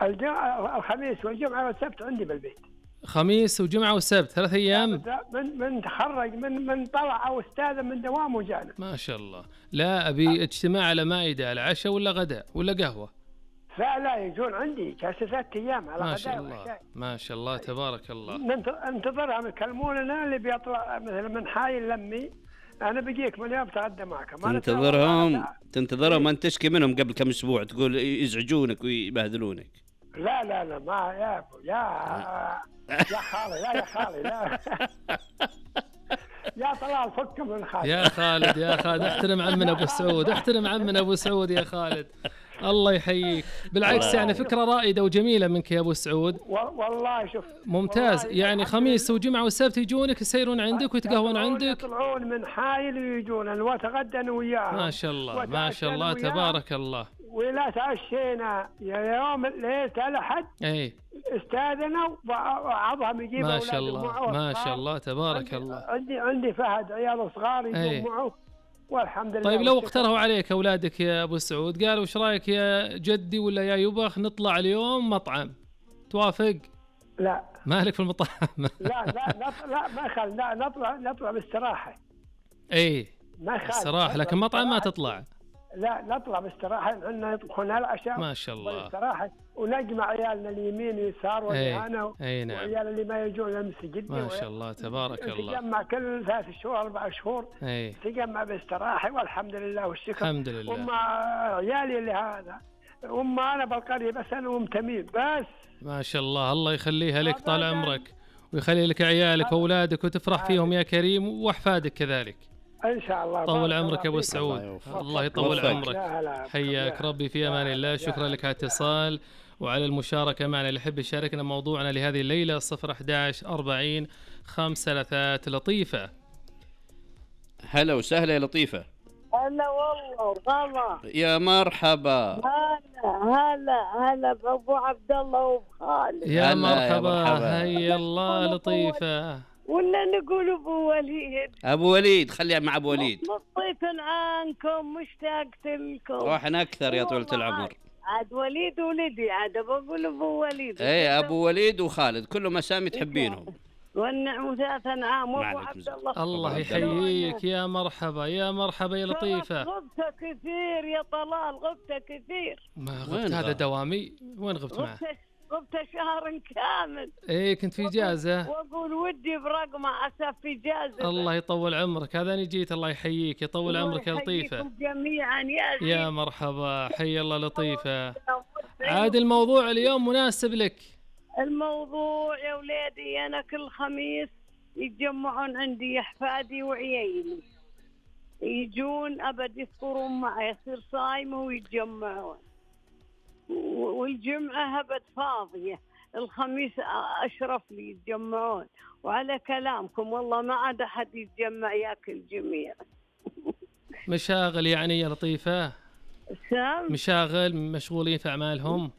الخميس والجمعة والسبت عندي بالبيت. خميس وجمعة وسبت 3 أيام. من تخرج من طلع أو استاذ من دوام وجانا. ما شاء الله. لا أبي اجتماع على مائدة، على عشاء ولا غداء ولا قهوة؟ لا يجون عندي جالسة 3 أيام على غداء. ما شاء الله ما شاء الله تبارك الله. ننتظرهم يكلموننا اللي بيطلع مثلا من حي لمي أنا بجيك من يوم تغدى معك. تنتظرهم أن تشكي منهم قبل كم أسبوع تقول يزعجونك ويبهذلونك. لا ما يا خالي يا خالي لا يا طلال فك من خالد. يا خالد احترم عمنا أبو سعود، احترم عمنا أبو سعود يا خالد. الله يحييك. بالعكس يعني فكرة رائدة وجميلة منك يا أبو سعود. والله شوف ممتاز. يعني خميس وجمعة والسبت يجونك يسيرون عندك ويتقهون عندك. يطلعون من حايل ويجون وتغدى وياهم. ما شاء الله ما شاء الله تبارك الله. ولا تعشينا يوم الليل الأحد استاذنا وبعضهم يجيب ما شاء الله ما شاء الله تبارك الله. عندي فهد عيال صغار يجون معه والحمد لله. طيب لو اقترحوا عليك أولادك يا أبو سعود قالوا وش رأيك يا جدي ولا يا يبخ نطلع اليوم مطعم، توافق؟ لا مالك في المطاعم. لا ما خل نطلع باستراحة. ما خل استراحة لكن مطعم ما تطلع. لا نطلع باستراحة عندنا يطبخون العشاء ما شاء الله باستراحة ونجمع عيالنا اليمين ويسار واليمين نعم. وعيال اللي ما يجون المسجد. ما شاء الله تبارك الله. تجمع كل 3 شهور 4 شهور تجمع باستراحة والحمد لله والشكر. الحمد لله. وما عيالي اللي هذا وما أنا بالقرية بس أنا ومتميم بس. ما شاء الله الله يخليها لك طال عمرك ويخلي لك عيالك وأولادك وتفرح فيهم يا كريم وأحفادك كذلك إن شاء الله. طول عمرك يا أبو سعود. الله يطول عمرك. حياك ربي في أمان الله. شكرا لك على الاتصال وعلى المشاركة معنا. اللي يحب يشاركنا موضوعنا لهذه الليلة 011 40 533 لطيفة. هلا وسهلا يا لطيفة. هلا والله غلا. يا مرحبا. هلا بأبو عبد الله وبخالد. يا مرحبا. هيا الله لطيفة. ولا نقول أبو وليد خليها مع أبو وليد. لطيف عنكم مشتاقت لكم. روحنا أكثر يا طولة العمر. عاد وليد ولدي عاد بقول أبو وليد. أبو وليد وخالد كلهم أسامي تحبينهم. والنعم 3 أنعام وأبو عبد الله. الله يحييك. يا مرحبا يا مرحبا يا لطيفة. غبت كثير يا طلال غبت كثير. ما غبت هذا دوامي. وين غبت معه؟ غبت شهر كامل. كنت في إجازة. وأقول ودي برقمة عسى في إجازة. الله يطول عمرك. هذا أنا جيت. الله يحييك يطول عمرك يا لطيفة. جميعا يا مرحبا. حي الله لطيفة. عاد الموضوع اليوم مناسب لك. الموضوع يا ولادي أنا كل خميس يتجمعون عندي أحفادي وعيالي يجون أبد يفطرون معي يصير صايمة ويتجمعون. والجمعة هبت فاضية. الخميس أشرف لي يتجمعون. وعلى كلامكم والله ما عاد أحد يتجمع ياكل جميع. مشاغل يعني يا لطيفة. مشاغل مشغولين في أعمالهم.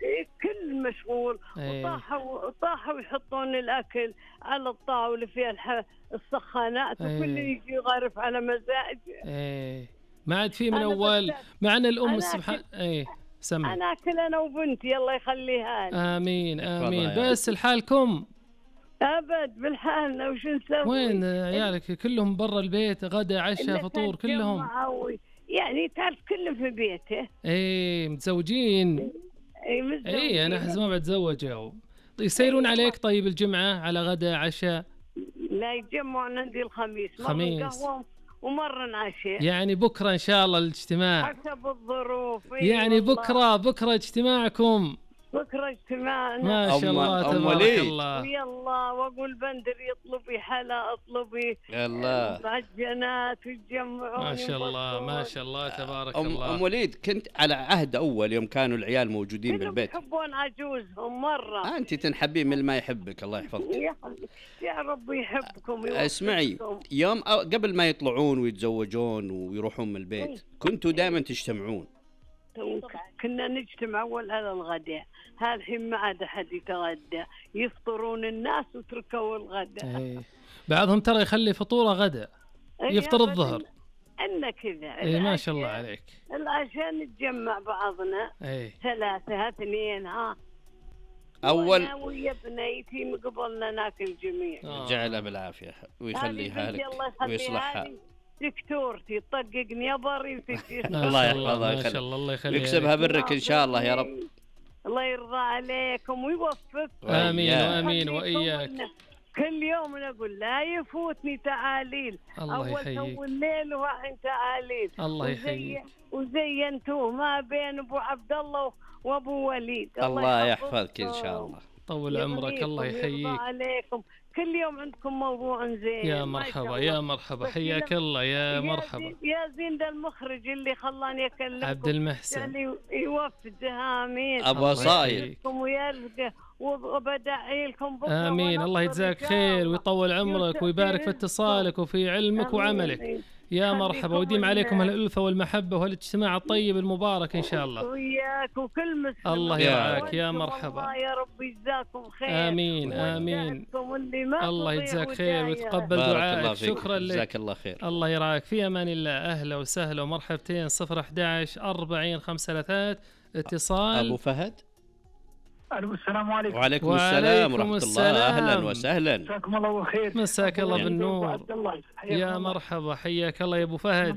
كل مشغول. وطاحوا يحطون الأكل على الطاولة فيها السخانات وكل يجي يغرف على مزاجه. ما عاد في من أول معنا الأم سبحان. سمع. أنا أكل أنا وبنتي الله يخليها لي. آمين آمين. بس الحالكم أبد بالحالنا وش نسوي؟ وين عيالك كلهم برا البيت غدا عشاء فطور كلهم؟ يعني تعرف كلهم في بيته. متزوجين. متزوجين. أنا أحس ما بتزوجوا. يسيرون عليك طيب الجمعة على غدا عشاء؟ لا يتجمعون عندي الخميس. خميس. ومرة عشاء. يعني بكرة إن شاء الله الاجتماع. حسب الظروف. يعني بكرة اجتماعكم. بكرة اجتماعنا. ما شاء الله تبارك الله. ويلا واقول بندر يطلبي حلا اطلبي. يلا. معجنات ويتجمعون. ما شاء الله ما شاء الله تبارك الله. أم وليد كنت على عهد أول يوم كانوا العيال موجودين بالبيت. يحبون عجوزهم مرة. أنت تنحبين من ما يحبك الله يحفظك. يا رب يحبكم. اسمعي يوم قبل ما يطلعون ويتزوجون ويروحون من البيت كنتوا دائما تجتمعون. كنا نجتمع أول على الغداء. هالحين ما عاد أحد يتغدى يفطرون الناس وتركوا الغداء. بعضهم ترى يخلي فطوره غداء يفطر الظهر. أنا كذا. ما شاء الله عليك. عشان نتجمع بعضنا 3 2 أول ويا بنيتي من قبلنا ناكل جميع. جعلها بالعافية ويخليها لك ويصلحها. دكتورتي طققني ابري الله يحفظها ما شاء الله، الله يخليها ويكسبها برك ان شاء الله يا رب. الله يرضى عليكم ويوفقك. امين وامين واياك. كل يوم نقول لا يفوتني تعاليل. الله يحييك. اول الليل وحين تعاليل. الله يحييك. وزينتوه ما بين ابو عبد الله وابو وليد. الله يحفظك ان شاء الله. طول عمرك. الله يحييك. عليكم. كل يوم عندكم موضوع زين. يا مرحبا يا مرحبا، حياك الله يا مرحبا. يا زين ده المخرج اللي خلاني اكلمكم عبد المحسن يعني يوفقها. امين. ابو صايل وبدعي لكم بكره. امين. الله يجزاك خير ويطول عمرك ويبارك في اتصالك وفي علمك وعملك. يا مرحبا، ويديم عليكم الألفة والمحبة والاجتماع الطيب المبارك إن شاء الله. وياك وكل مسلم. الله يرعاك يا مرحبا. الله يا رب يجزاكم خير. آمين آمين. الله يجزاك خير ويتقبل دعائك. شكرا لك. جزاك الله خير. الله يرعاك. في أمان الله. أهلا وسهلا ومرحبتين. 011 40 533 اتصال. أبو فهد. السلام عليكم. وعليكم السلام ورحمة الله. أهلا وسهلا. مساكم الله بالخير. مساك الله بالنور. يا مرحبا، حياك الله يا أبو فهد.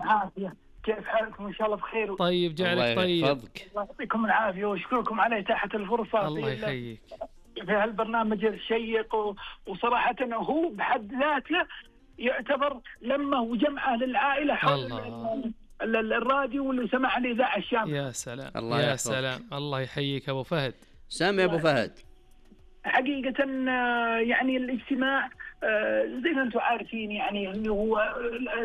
كيف حالكم؟ إن شاء الله بخير. طيب جعلك طيب. الله يعطيكم العافية وأشكركم على إتاحة الفرصة. الله يحييك. في هالبرنامج الشيق وصراحة هو بحد ذاته يعتبر لمة وجمعة للعائلة حول الراديو واللي سمع الإذاعة الشاملة. يا سلام الله يا سلام. الله يحييك أبو فهد. سامي أبو فهد. حقيقة يعني الاجتماع زي ما أنتم عارفين يعني هو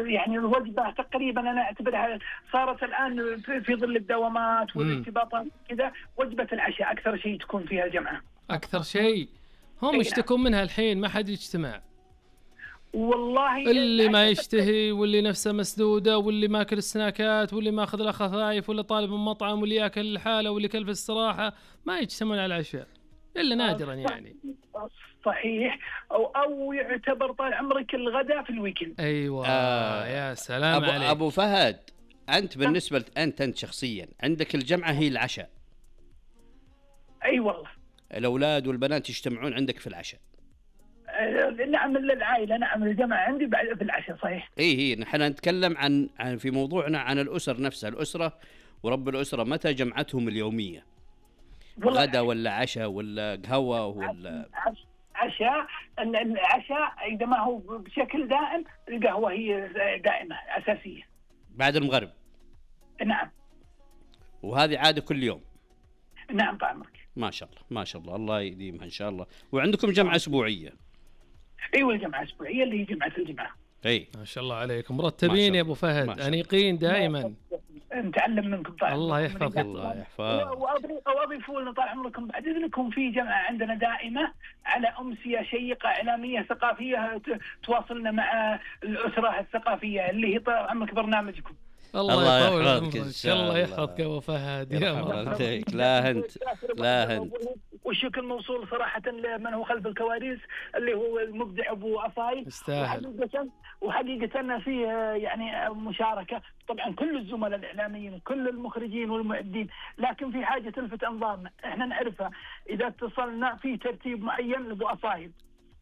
يعني الوجبة تقريبا أنا أعتبرها صارت الآن في ظل الدوامات والارتباطات كذا وجبة العشاء أكثر شيء تكون فيها الجمعة. أكثر شيء هم يشتكون منها الحين، ما حد يجتمع. والله اللي ما يشتهي واللي نفسه مسدودة واللي ماكل السناكات واللي ماخذ له خفايف واللي طالب من مطعم واللي ياكل الحالة واللي كل في الصراحة ما يجتمعون على العشاء إلا نادرا يعني. صحيح. أو يعتبر طال عمرك الغداء في الويكند. أيوة. يا سلام عليك أبو فهد. أنت بالنسبة أنت شخصيا عندك الجمعة هي العشاء. أي والله. الأولاد والبنات يجتمعون عندك في العشاء. نعم للعائلة. نعم الجمعة عندي بعد في العشاء. صحيح. هي نحن نتكلم عن في موضوعنا عن الأسر نفسها. الأسرة ورب الأسرة متى جمعتهم اليومية؟ غدا ولا عشاء ولا قهوة ولا عشاء؟ العشاء إذا ما هو بشكل دائم القهوة هي دائمة أساسية بعد المغرب. نعم. وهذه عادة كل يوم. نعم طعمك. ما شاء الله ما شاء الله. الله يديمها إن شاء الله. وعندكم جمعة أسبوعية؟ أيوة الجمعة الأسبوعية اللي هي جمعة الجمعة. ما شاء الله عليكم مرتبين يا أبو فهد، أنيقين دائما. نتعلم منكم طال الله يحفظك. الله يحفظك. وأضيف لنا طال عمركم بعد إذنكم في جمعة عندنا دائمة على أمسية شيقة إعلامية ثقافية تواصلنا مع الأسرة الثقافية اللي هي طال عمرك برنامجكم. الله يحفظك إن شاء الله. يحفظك يا أبو فهد. يا مرحبا. لا هنت. والشكر موصول صراحة لمن هو خلف الكواليس اللي هو المبدع أبو عصاي. وحقيقة فيه يعني مشاركة طبعا كل الزملاء الإعلاميين وكل المخرجين والمعدين، لكن في حاجة تلفت أنظارنا احنا نعرفها إذا اتصلنا في ترتيب معين لأبو عصاي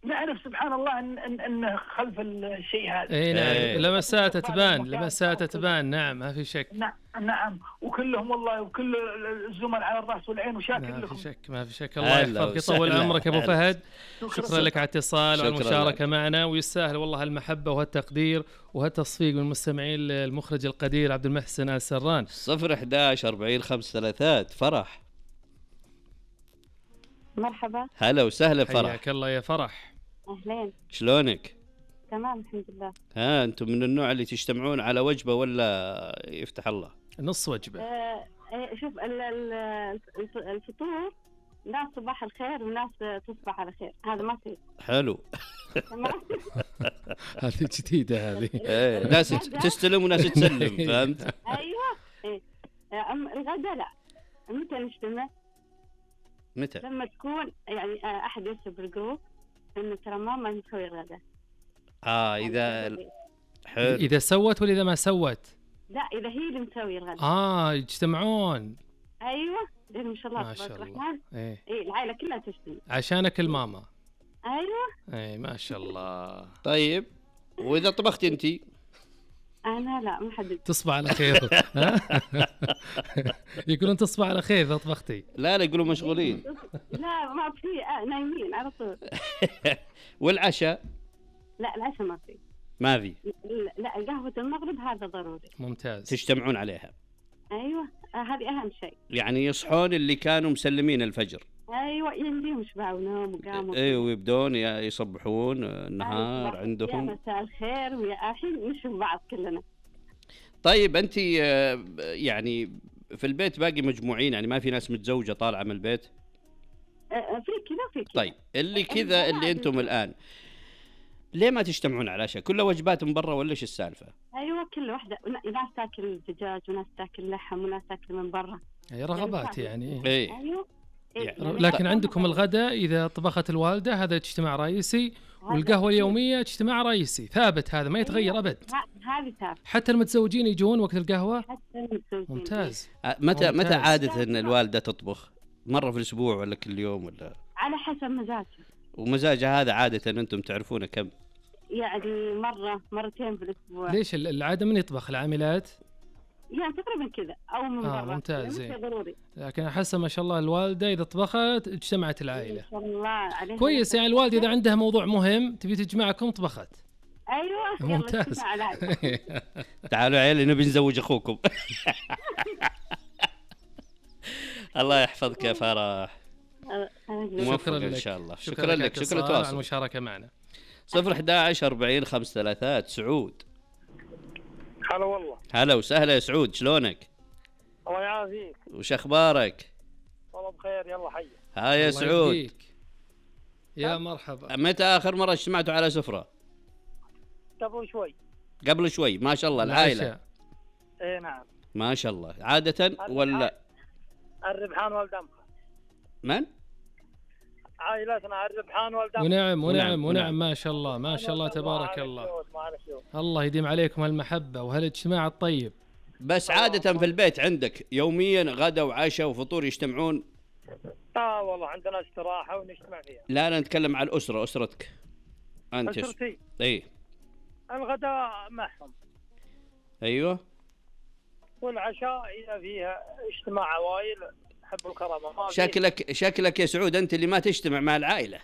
نعرف سبحان الله ان خلف الشيء هذا. اي نعم. لمسات تبان. نعم ما في شك. نعم وكلهم والله وكل الزملاء على الراس والعين وشاكر لكم. ما في شك. الله يحفظك يطول عمرك يا ابو فهد. شكرا لك على الاتصال وعلى المشاركه معنا، ويستاهل والله المحبه وهالتقدير وهالتصفيق من المستمعين للمخرج القدير عبد المحسن السران. 011 40 533 فرح. مرحبا. هلا وسهلا فرح. حياك الله يا فرح. أهلين. شلونك؟ تمام الحمد لله. أنتم من النوع اللي تجتمعون على وجبة ولا يفتح الله؟ نص وجبة. شوف الفطور ناس صباح الخير وناس تصبح على خير، هذا ما في. حلو. هذه جديدة هذه. ناس تستلم وناس تسلم. فهمت؟ أيوة. الغداء لا. متى نجتمع؟ متى؟ لما تكون يعني أحد يكتب بالجروب إنه ترى ماما نسوي الغداء. إذا حلو. إذا سوت ولا إذا ما سوت؟ لا إذا هي اللي مسوي الغداء. يجتمعون. أيوة. زين ما شاء الله ما شاء تبارك الله. الرحمن. ايه العائلة كلها تجتمع عشانك الماما. ايوه. ايه ما شاء الله. طيب واذا طبختي انت؟ انا لا ما حد. تصبح على خير. يقولون تصبح على خير اذا طبختي. لا يقولوا مشغولين. لا ما في، نايمين على طول. والعشاء؟ لا العشاء ما في. ما في. لا قهوة المغرب هذا ضروري. ممتاز. تجتمعون عليها. ايوه هذه اهم شيء. يعني يصحون اللي كانوا مسلمين الفجر. ايوه يمديهم شبعوا ونوم وقاموا. ايوه ويبدون يصبحون النهار عندهم. يا مساء الخير ويا الحين نشوف بعض كلنا. طيب انت يعني في البيت باقي مجموعين، يعني ما في ناس متزوجة طالعة من البيت؟ في كذا في كذا. طيب اللي كذا اللي انتم الان ليه ما تجتمعون على العشاء؟ كلها وجبات من برا ولا ايش السالفة؟ ايوه كل واحدة، ناس تاكل دجاج وناس تاكل لحم وناس تاكل من برا. هي رغبات يعني. ايه. ايوه. يعني لكن عندكم الغداء إذا طبخت الوالدة هذا اجتماع رئيسي، والقهوة اليومية اجتماع رئيسي ثابت، هذا ما يتغير أبد. هذه ثابت. حتى المتزوجين يجون وقت القهوة. حتى المتزوجين. ممتاز. متى عادة ان الوالدة تطبخ؟ مرة في الاسبوع ولا كل يوم ولا؟ على حسب مزاجها. ومزاجها هذا عادة انتم تعرفونه كم؟ يعني مرتين في الاسبوع. ليش العادة من يطبخ؟ العاملات؟ يعني تقريبا كذا او من برا. ممتاز. زين. ضروري. لكن احس ما شاء الله الوالده اذا طبخت اجتمعت العائله. ما شاء الله عليها. كويس، يعني الوالده اذا عندها موضوع مهم تبي تجمعكم طبخت. ايوه. ممتاز. تعالوا عيالي نبي نزوج اخوكم. الله يحفظك يا فرح. شكرا لك ان شاء الله. شكرا لك. شكرا على المشاركه معنا. 011 40 53 سعود. هلا والله. هلا وسهلا يا سعود، شلونك؟ الله يعافيك. وش اخبارك؟ والله بخير. يلا حي. ها يا سعود. يهديك. يا مرحبا. متى اخر مره اجتمعتوا على سفره؟ قبل شوي. ما شاء الله العائله. ايه نعم. ما شاء الله. عاده ولا الربحان والدمخه. من؟ عائلتنا الربحان والدمخه. ونعم ما شاء الله ما شاء الله تبارك الله. الله يديم عليكم هالمحبه وهالاجتماع الطيب. بس عاده في البيت عندك يوميا غدا وعشاء وفطور يجتمعون؟ والله عندنا استراحه ونجتمع فيها. لا نتكلم عن الاسره، اسرتك انت. اسرتي. اي. الغداء معهم. ايوه. والعشاء اذا فيها اجتماع عوائل حب الكرامه. شكلك يا سعود انت اللي ما تجتمع مع العائله.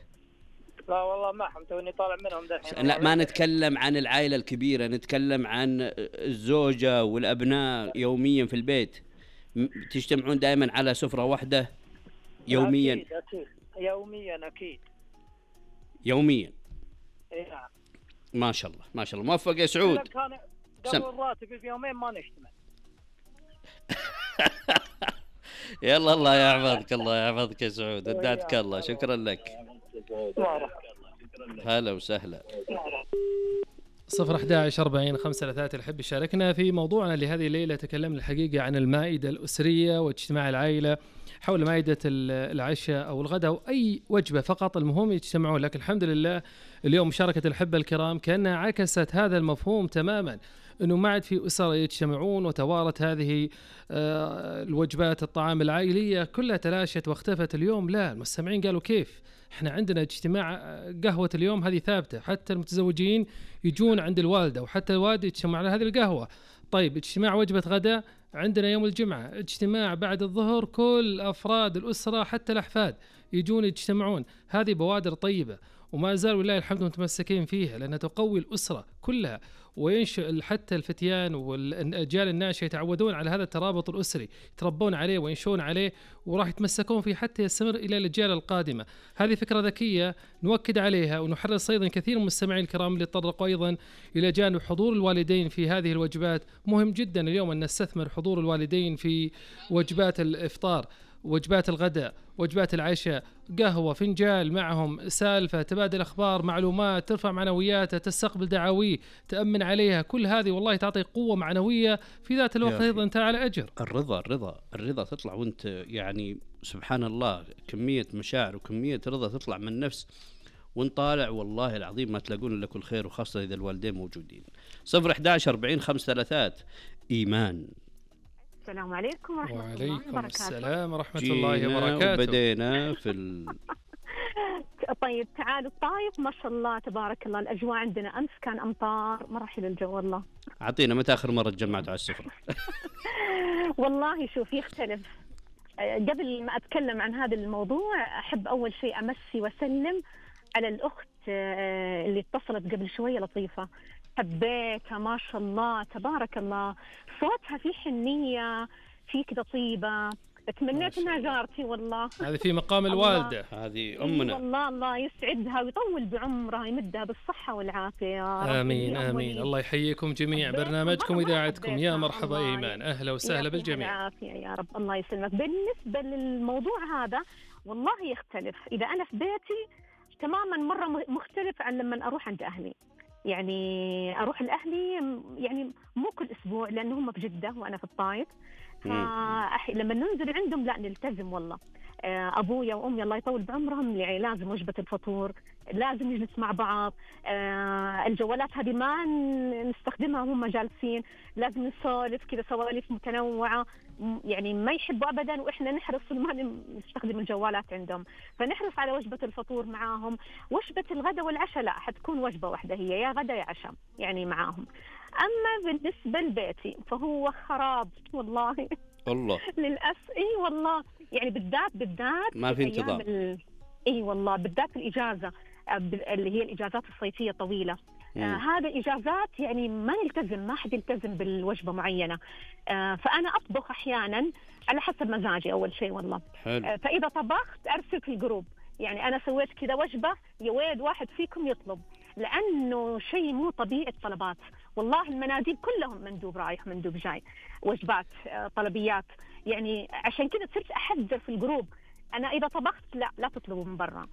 لا والله معهم، توني طالع منهم دحين. لا ما نتكلم عن العائله الكبيره، نتكلم عن الزوجه والابناء يوميا في البيت. تجتمعون دائما على سفره واحده يوميا؟ أكيد. يوميا اكيد. يوميا. اي نعم. ما شاء الله موفق يا سعود. كان قبل الراتب في يومين ما نجتمع. يلا الله يحفظك يا سعود، ودعتك الله. شكرا لك. هلا وسهلا. 011 40 53 الحب يشاركنا في موضوعنا لهذه الليلة. تكلمنا الحقيقة عن المائدة الأسرية واجتماع العائلة حول مائدة العشاء أو الغداء أو أي وجبة، فقط المهم يجتمعون. لكن الحمد لله اليوم مشاركة الأحبة الكرام كأنها عكست هذا المفهوم تماما، أنه ما عاد في أسر يجتمعون وتوارت هذه الوجبات الطعام العائلية كلها تلاشت واختفت. اليوم لا، المستمعين قالوا كيف احنا عندنا اجتماع قهوة اليوم هذه ثابتة، حتى المتزوجين يجون عند الوالدة وحتى الوالد يجتمع على هذه القهوة. طيب اجتماع وجبة غداء عندنا يوم الجمعة، اجتماع بعد الظهر كل أفراد الأسرة حتى الأحفاد يجون يجتمعون. هذه بوادر طيبة وما زال ولله الحمد متمسكين فيها، لأنها تقوي الأسرة كلها وينشئ حتى الفتيان والأجيال الناشئة يتعودون على هذا الترابط الأسري، يتربون عليه وينشون عليه وراح يتمسكون فيه حتى يستمر إلى الأجيال القادمة. هذه فكرة ذكية نؤكد عليها ونحرص أيضا كثير من المستمعين الكرام اللي تطرقوا أيضا إلى جانب حضور الوالدين في هذه الوجبات. مهم جدا اليوم أن نستثمر حضور الوالدين في وجبات الإفطار، وجبات الغداء، وجبات العشاء، قهوة، فنجال معهم، سالفة، تبادل أخبار، معلومات، ترفع معنوياته، تستقبل دعاويه، تأمن عليها. كل هذه والله تعطي قوة معنوية في ذات الوقت أيضا أنت على أجر. الرضا تطلع وانت يعني سبحان الله كمية مشاعر وكمية رضا تطلع من النفس وانت طالع، والله العظيم ما تلاقون إلا كل خير، وخاصة إذا الوالدين موجودين. 011 40 53 إيمان. السلام عليكم ورحمة الله وبركاته. وعليكم السلام ورحمة الله وبركاته. بدينا طيب تعالوا الطايف ما شاء الله تبارك الله، الأجواء عندنا أمس كان أمطار، مرة حلو الجو والله. أعطينا متى آخر مرة تجمعتوا على السفرة؟ والله شوف يختلف. قبل ما أتكلم عن هذا الموضوع أحب أول شيء أمسي وسلم على الأخت اللي اتصلت قبل شوية، لطيفة، حبيتها ما شاء الله تبارك الله، صوتها فيه حنية، فيه كده طيبة، تمنيت انها جارتي والله. هذه في مقام الوالدة، هذه أمنا والله. الله يسعدها ويطول بعمرها، يمدها بالصحة والعافية يا رب. آمين آمين. الله يحييكم جميع، برنامجكم وإذاعتكم. يا مرحبا إيمان، أهلا وسهلا بالجميع. العافية يا رب، الله يسلمك. بالنسبة للموضوع هذا والله يختلف، إذا أنا في بيتي تماما مرة مختلف عن لما أروح عند أهلي. يعني أروح لأهلي يعني مو كل أسبوع لأنه هم في جدة وأنا في الطايف، لما ننزل عندهم لا نلتزم والله. أبويا وأمي الله يطول بعمرهم يعني لازم وجبة الفطور، لازم نجلس مع بعض، الجوالات هذه ما نستخدمها وهم جالسين، لازم نسولف كذا سوالف متنوعة، يعني ما يحبوا أبدا وإحنا نحرص ما نستخدم الجوالات عندهم، فنحرص على وجبة الفطور معاهم. وجبة الغداء والعشاء لا، حتكون وجبة واحدة هي، يا غداء يا عشاء يعني معاهم. أما بالنسبة لبيتي فهو خراب والله. الله للأسف إيه والله، يعني بالذات ما في انتظام. إيه والله بالذات الإجازة اللي هي الإجازات الصيفية طويلة. هذا إجازات يعني ما نلتزم، ما حد يلتزم بالوجبة معينة. فأنا أطبخ أحيانا على حسب مزاجي أول شيء والله. فإذا طبخت أرسل في الجروب، يعني أنا سويت كذا وجبة يا ويد واحد فيكم يطلب، لأنه شيء مو طبيعي الطلبات والله. المناديب كلهم مندوب رايح مندوب جاي، وجبات طلبيات، يعني عشان كذا صرت أحذر في الجروب، أنا إذا طبخت لا تطلبوا من برا.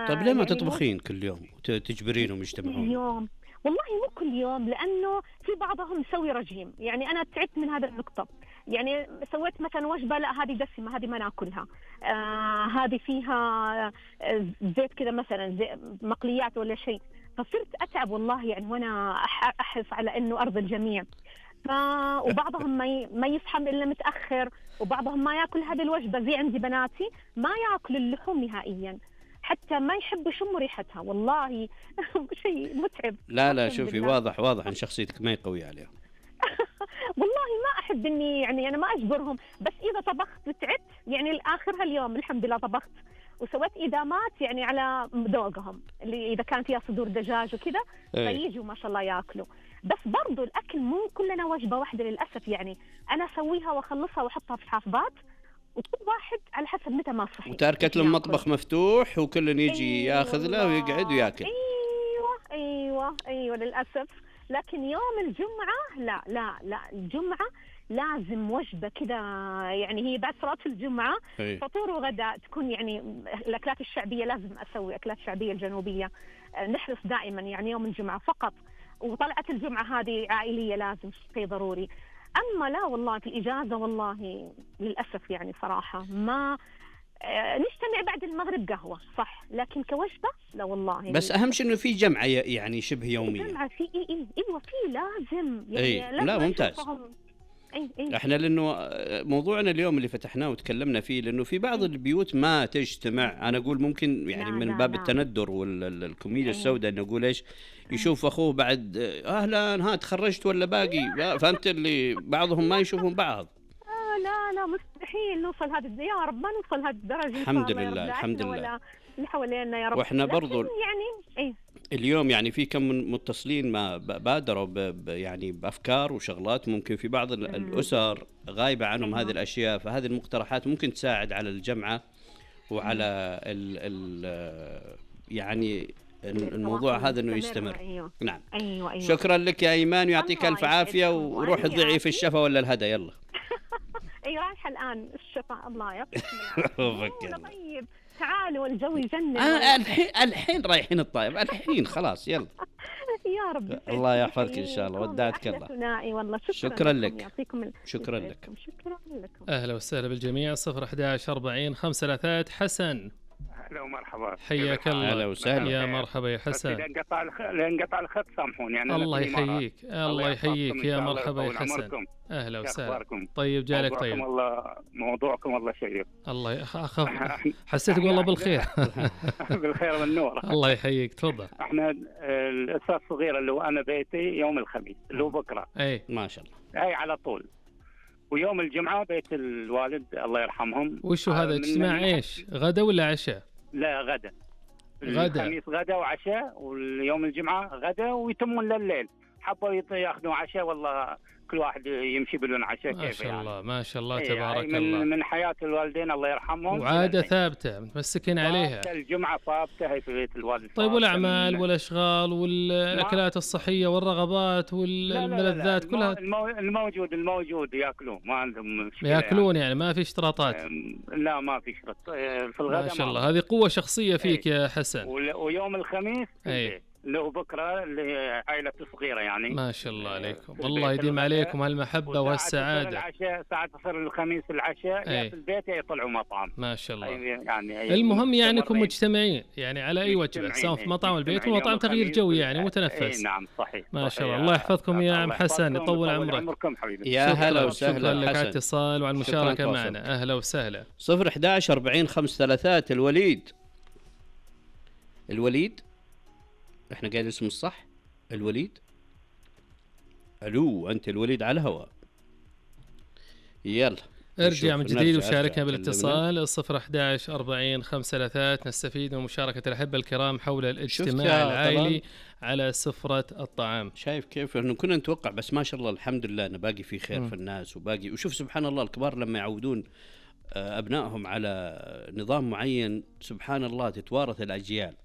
طيب ليه ما تطبخين كل يوم تجبرينهم يجتمعون؟ يوم والله مو كل يوم، لأنه في بعضهم يسوي رجيم، يعني أنا تعبت من هذا النقطة. يعني سويت مثلا وجبة لا هذه دسمة، هذه ما ناكلها، هذه فيها زيت كذا مثلا مقليات ولا شيء، فصرت أتعب والله يعني وأنا أحرص على إنه أرضي الجميع. وبعضهم ما يفهم إلا متأخر، وبعضهم ما يأكل هذه الوجبة، زي عندي بناتي ما يأكل اللحوم نهائيا، حتى ما يحب يشم ريحتها والله. شيء متعب. لا شوفي واضح ان شخصيتك ما يقوي عليها. والله ما احب اني يعني انا ما اجبرهم، بس اذا طبخت تعبت يعني الاخر هاليوم الحمد لله طبخت وسويت ادامات يعني على ذوقهم، اللي اذا كان فيها صدور دجاج وكذا فييجوا ما شاء الله ياكلوا. بس برضو الاكل مو كلنا وجبه واحده للاسف، يعني انا اسويها واخلصها واحطها في حافظات، وكل واحد على حسب متى ما صحي. وتركت لهم مطبخ مفتوح وكل يجي ياخذ له ويقعد وياكل. ايوه للاسف. لكن يوم الجمعه لا الجمعه لازم وجبه كذا، يعني هي بعد صلاه الجمعه فطور وغداء تكون يعني الاكلات الشعبيه، لازم اسوي اكلات شعبيه الجنوبيه، نحرص دائما يعني يوم الجمعه فقط. وطلعت الجمعه هذه عائليه لازم شيء ضروري. أما لا والله في الإجازة والله للأسف يعني صراحة ما نجتمع بعد المغرب قهوة صح، لكن كوجبة لا والله. بس أهم شيء إنه في جمعة يعني شبه يومية. جمعة في إيوه في لازم يعني لازم لا ممتاز. احنا لانه موضوعنا اليوم اللي فتحناه وتكلمنا فيه، لانه في بعض البيوت ما تجتمع، انا اقول ممكن يعني من باب التندر والكوميديا السوداء، انه اقول ايش يشوف اخوه بعد اهلا تخرجت ولا باقي، فهمت اللي بعضهم ما يشوفون بعض. لا مستحيل نوصل هذه، يا رب ما نوصل هذه الدرجه. الحمد لله الحمد لله. ولا اللي حوالينا يا رب. واحنا برضو يعني اليوم يعني في كم من متصلين ما بادروا يعني بافكار وشغلات ممكن في بعض الاسر غايبه عنهم هذه الاشياء، فهذه المقترحات ممكن تساعد على الجمعه وعلى يعني الموضوع هذا انه يستمر. أيوة. نعم. أيوة. شكرا لك يا ايمان ويعطيك الف عافيه، وروح ادعي في الشفا ولا الهدى. يلا اي رايحه الان الشفا الله يعطيك طيب تعالوا الجو يجنن. الحين رايحين الطايف الحين خلاص يلا. يا رب الله يحفظك ان شاء الله، ودعتك الله. والله شكرا لك. يعطيكم شكرا لك. اهلا وسهلا بالجميع. 011 40 533 حسن. هلا ومرحبا. حياك الله. هلا وسهلا. يا مرحبا يا حسن. لأن قطع الخط سامحوني يعني. الله يحييك الله يحييك يا مرحبا يا حسن. أهلا وسهلا. طيب جالك طيب. موضوعكم والله شيق. الله أخاف حسيتك والله بالخير. بالخير والنور. الله يحييك تفضل. احنا الأسرة الصغيرة اللي هو أنا بيتي يوم الخميس اللي هو بكرة. أي ما شاء الله. هاي على طول. ويوم الجمعة بيت الوالد الله يرحمهم. وشو هذا اجتماع ايش؟ غدا ولا عشاء؟ لا غدا. غدا. الخميس غدا وعشاء، واليوم الجمعة غدا ويتمون لليل. حبوا ياخذوا عشاء والله كل واحد يمشي بدون عشاء كيف ما شاء الله يعني. ما شاء الله تبارك الله. من حياة الوالدين الله يرحمهم. وعادة ثابتة متمسكين عليها. الجمعة ثابتة هي في بيت الوالد. طيب والأعمال والأشغال والأكلات الصحية والرغبات والملذات كلها الموجود يأكلون ما عندهم مشكلة. يأكلون يعني ما في اشتراطات. لا ما في اشتراط في الغداء. ما شاء الله هذه قوة شخصية فيك يا حسن. ويوم الخميس لو بكرة لعائلة صغيرة يعني. ما شاء الله عليكم والله يديم عليكم هالمحبة والسعادة. ساعة تصير الخميس العشاء يا في البيت يطلعوا مطعم. ما شاء الله يعني المهم يعني انكم مجتمعين يعني على أي وجبة سواء في مطعم البيت ومطعم تغيير جو يعني متنفس. نعم صحيح. ما شاء الله الله يحفظكم يا عم حسن يطول عمرك. يا هلا وسهلا. شكرا لك على الاتصال وعلى المشاركة معنا. أهلا وسهلا. 011 40 533 الوليد احنا قايل اسمه الصح الوليد. الو انت الوليد على الهواء. يلا ارجع من جديد وشاركنا بالاتصال 011 40 533. نستفيد من مشاركة الأحبة الكرام حول الاجتماع العائلي على سفرة الطعام. شايف كيف انه كنا نتوقع بس ما شاء الله الحمد لله انه باقي في خير في الناس وباقي. وشوف سبحان الله الكبار لما يعودون ابنائهم على نظام معين سبحان الله تتوارث الأجيال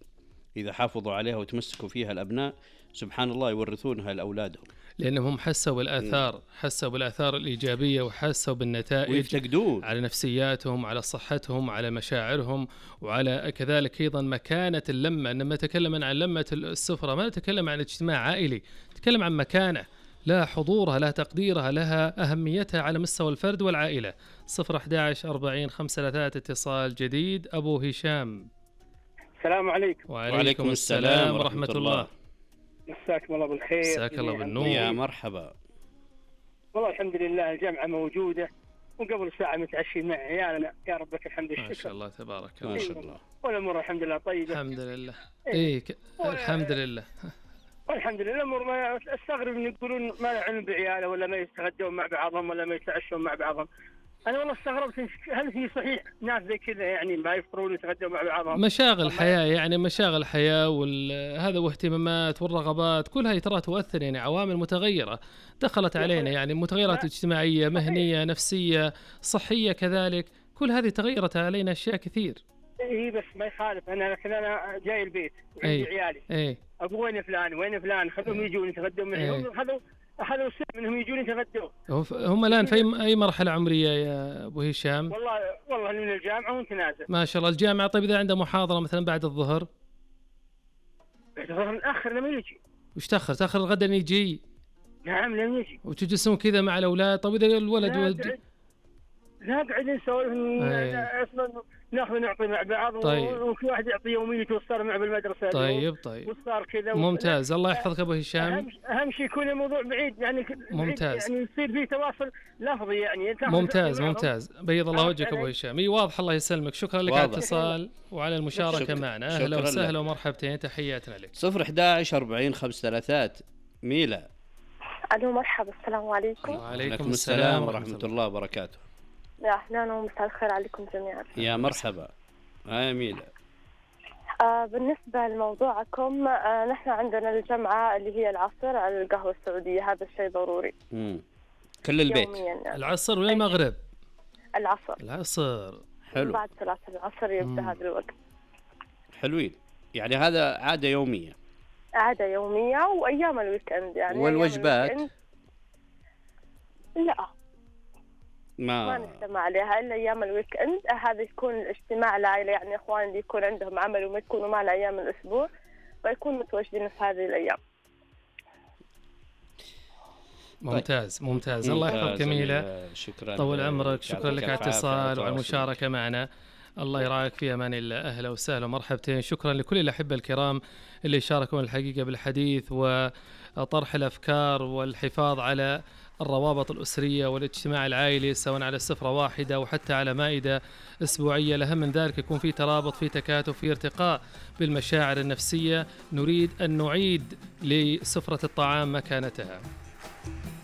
إذا حافظوا عليها وتمسكوا فيها الأبناء سبحان الله يورثونها لأولادهم لأنهم حسوا بالآثار حسوا بالآثار الإيجابية وحسوا بالنتائج ويفتقدون على نفسياتهم على صحتهم على مشاعرهم وعلى كذلك أيضا مكانة اللمة. إنما نتكلم عن لمة السفرة ما نتكلم عن اجتماع عائلي نتكلم عن مكانة لها حضورها لها تقديرها لها أهميتها على مستوى الفرد والعائلة. 011 40 533 اتصال جديد. أبو هشام. السلام عليكم. وعليكم السلام ورحمة الله. مساكم الله بالخير. مساك الله بالنور. يا مرحبا. والله الحمد لله الجامعة موجودة وقبل ساعة متعشي مع عيالنا يا رب لك الحمد والشكر. ما شاء الله تبارك الله. ما شاء الله. والأمور الحمد لله طيبة. الحمد لله. الحمد لله. والحمد لله الأمور ما استغرب إن يقولون ما يعنون بعياله ولا ما يتغدون مع بعضهم ولا ما يتعشون مع بعضهم. أنا والله استغربت هل في صحيح ناس زي كذا يعني ما يفطرون ويتغدون مع بعضهم؟ مشاغل الحياة يعني مشاغل الحياة وهذا واهتمامات والرغبات كلها ترى تؤثر يعني عوامل متغيرة دخلت علينا يعني متغيرات اجتماعية مهنية نفسية صحية كذلك كل هذه تغيرت علينا أشياء كثير. إيه بس ما يخالف أنا جاي البيت وعندي عيالي. أبو وين فلان خذوهم يجون يتغدون معي. أخذوا سنة منهم يجون يتغدوا. هم الآن في أي مرحلة عمرية يا أبو هشام؟ والله من الجامعة وانت نازل. ما شاء الله الجامعة. طيب إذا عنده محاضرة مثلا بعد الظهر؟ بعد الظهر نأخر لما يجي. وش تأخر الغدا يجي؟ نعم لما يجي. وتجلسون كذا مع الأولاد. طيب إذا الولد لا قاعد نسولف اصلا ناخذ نعطي مع بعض. طيب. وكل واحد يعطي يوميته وصار معه بالمدرسه. طيب وصار كذا ممتاز. الله يحفظك ابو هشام. اهم شيء يكون الموضوع بعيد يعني ممتاز يعني يصير فيه تواصل لفظي يعني. ممتاز بيض الله وجهك ابو هشام. اي واضح الله يسلمك. شكرا لك على الاتصال وعلى المشاركه معنا. اهلا وسهلا ومرحبتين تحياتنا لك. 011 40 533 ميلا. الو مرحبا. السلام عليكم. وعليكم السلام ورحمه الله وبركاته. يا أهلا ومساء الخير عليكم جميعا. يا مرحبا. هاي ميلا. بالنسبة لموضوعكم نحن عندنا الجمعة اللي هي العصر على القهوة السعودية. هذا الشيء ضروري. كل البيت. يعني. العصر ولا المغرب؟ العصر. حلو. بعد صلاة العصر يبدأ هذا الوقت. حلوين. يعني هذا عادة يومية. عادة يومية وأيام الويكند يعني. والوجبات؟ لا. ما نجتمع عليها إلا أيام الويكند. هذا يكون الاجتماع العائلة يعني إخوان اللي يكون عندهم عمل وما يكونوا معنا أيام الأسبوع فيكونوا متواجدين في هذه الأيام. ممتاز. الله يحفظك جميلة. شكرا. طول عمرك. شكرا لك على الاتصال وعلى المشاركة معنا. الله يرعاك، في أمان الله. أهلا وسهلا ومرحبتين. شكرا لكل الأحبة الكرام اللي شاركوا الحقيقة بالحديث وطرح الأفكار والحفاظ على الروابط الأسرية والاجتماع العائلي، سواء على سفرة واحدة وحتى على مائدة أسبوعية. الأهم من ذلك يكون في ترابط، في تكاتف، في ارتقاء بالمشاعر النفسية. نريد أن نعيد لسفرة الطعام مكانتها.